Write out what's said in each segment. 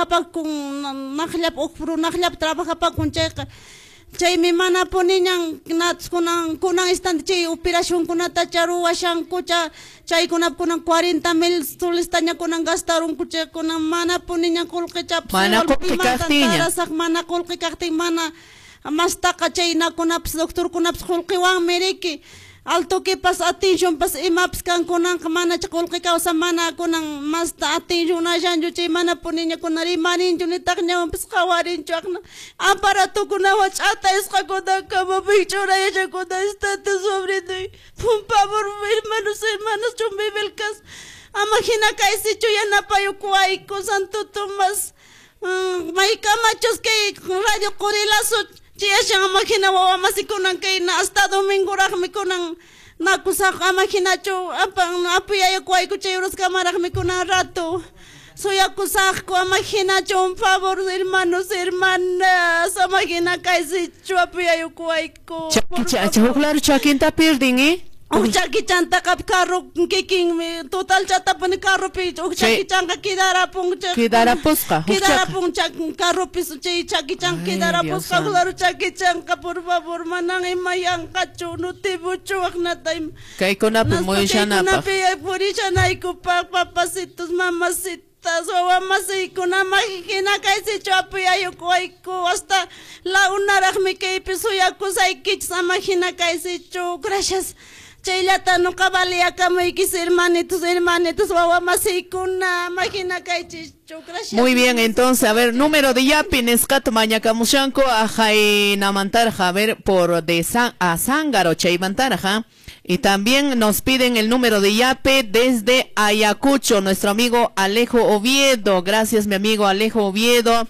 Trabajapakun naqllap huk runaqllap trabajapakun chayqa chaymi mana puniñan kunan kunan instante chay operacionkunata ruwashankucha chaykunap kunan 40,000 solestaña kunan gastarunku chay kunan mana puniñan qullqichapas Mana qullqi kaqtinña. Mana qullqi kaqtin mana mastaqa chaynakunapas doctorkunapas qullqiwanmi riki altoquipas atencionpas imapas kankunanqa mana qullqi kawsa mana kunan masta atencionashanchu chay mana puniña kunan rimarinchu nitaq ñawanpas qhawarinchu aqna aparatukunawan ch'ataysqakuna kamapi churayashakuna instante sobrinoy. Por favor, hermanos, hermanas, chumbivilcas, ama hina kaysichu yanapayukuwayku Santo Tomás maykamachus kay Radio Qorilazo chayashan ama hina wawa masikunan kay na hasta domingoraqmi kunan nakusaq ama hinachu apuyayukuwayku chay uraskamaraqmi kunan rato suyakusaqku ama hinachu un favor, hermanos, hermanas, ama hina kaysichu apuyayukuwayku. Chakicha, huk lado chakinta pierdin, ¿eh? Huk chakichantaqa carro kikinmi total chatapuni carropi huk chakichanqa quedarapun Quedarapusqa, huk quedarapun carropi chay chakichan quedarapusqa claro chakichanqa por favor manan ima yanqachu nutibuchu aqnata Kaykunapi muyushanapaq. Kaykunapi purishanaykupaq papacitos, mamacitas, wawamasiykunama hina kaysichu apuyayukuwayku hasta la unaraqmi kaypi suyakusaykichis ama hina kaysichu. Gracias. Chayllata nuqa valiyakamuykichis hermanitos, hermanitos, wawamasiykuna, ama hina kaychischu. Gracias. Muy bien, entonces, a ver, número de yape nisqata mañakamushanku ajaynamantarqa, a ver, por de San, a Zángaro chaymantarqa. Y también nos piden el número de yape desde Ayacucho, nuestro amigo Alejo Oviedo. Gracias, mi amigo Alejo Oviedo.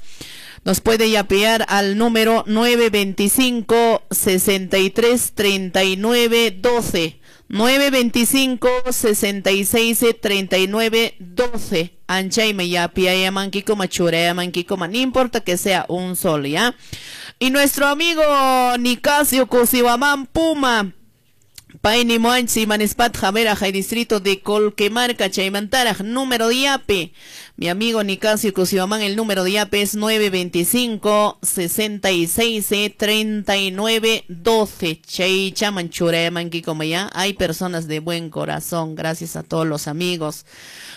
Nos puede yapear al número 925 63 39 12. 925 66 39 12. Anchayme yapiayamanquicoma, churayamanquicoma, no importa que sea un sol, ¿ya? Y nuestro amigo Nicasio Cosihuamán Puma. Payni Muanchi, Manispat, Javera, Jai distrito de Colquemarca, Chaymantaraj, número de yape. Mi amigo Nicasio Cosihuamán, el número de yape es 925 66 39 12. Chay chaman churayamanqui como ya. Hay personas de buen corazón, gracias a todos los amigos.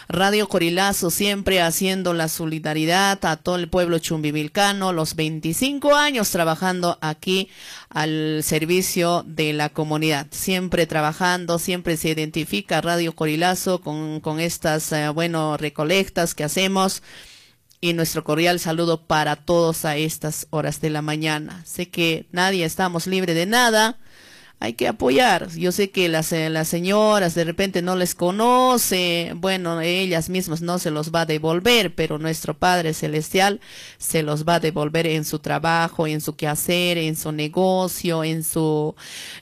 Radio Qorilazo siempre haciendo la solidaridad a todo el pueblo chumbivilcano, los 25 años trabajando aquí al servicio de la comunidad, siempre trabajando, siempre se identifica Radio Qorilazo con estas, bueno, recolectas que hacemos. Y nuestro cordial saludo para todos a estas horas de la mañana. Sé que nadie estamos libre de nada. Hay que apoyar. Yo sé que las señoras de repente no les conoce, bueno, ellas mismas no se los va a devolver, pero nuestro Padre Celestial se los va a devolver en su trabajo, en su quehacer, en su negocio, en su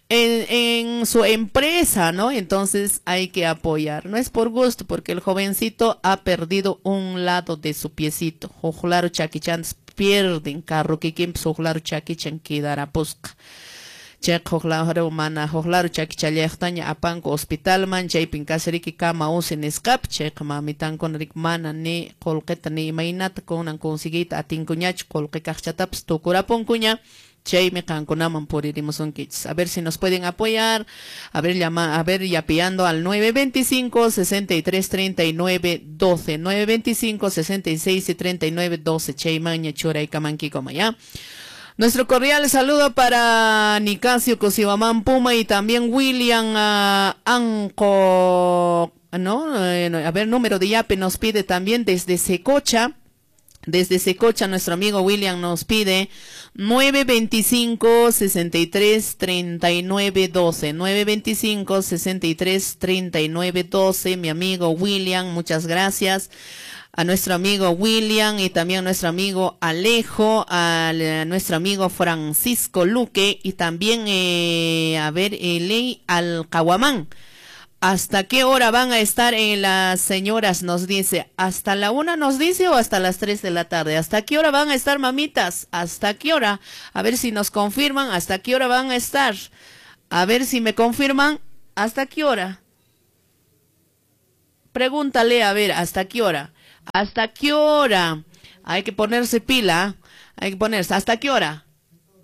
empresa, ¿no? Entonces hay que apoyar. No es por gusto, porque el jovencito ha perdido un lado de su piecito. Ojlaro chaquichan pierden carro que quien ojlaro chaquichan quedará posca. Chayqa huqlaro mana huqlaro chakichallayaqtaña apanku hospitalman chaypin kasriki kama usi nisqapi chayqa mamitankuna riki mana ni qullqita ni imaynata kunan conseguiyta atinkuñachu qullqi kaqchatapas tukurapunkuña chaymi qankunaman puririmusunkichis. A ver si nos pueden apoyar, a ver llama, a ver yapeando al 925 63 39 12, 925 66 y 39 12 chaymaña churaykamanki ya. Nuestro cordial saludo para Nicasio Cosihuamán Puma y también William Anco, ¿no? A ver, número de yape nos pide también desde Secocha. Desde Secocha nuestro amigo William nos pide 925 63 39 12, 925 63 39 12, mi amigo William, muchas gracias. A nuestro amigo William y también a nuestro amigo Alejo, a nuestro amigo Francisco Luque y también, a ver, Eley Alcahuamán. ¿Hasta qué hora van a estar en las señoras? Nos dice, ¿hasta la 1 nos dice o hasta las 3 de la tarde? ¿Hasta qué hora van a estar, mamitas? ¿Hasta qué hora? A ver si nos confirman, ¿hasta qué hora van a estar? A ver si me confirman, ¿hasta qué hora? Pregúntale, a ver, ¿hasta qué hora? ¿Hasta qué hora? Hay que ponerse pila, hay que ponerse. ¿Hasta qué hora?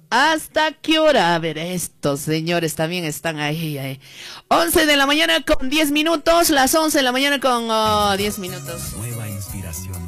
¿Hasta qué hora? A ver, estos señores también están ahí, ahí. 11 de la mañana con 10 minutos, las 11 de la mañana con 10 minutos. Nueva inspiración.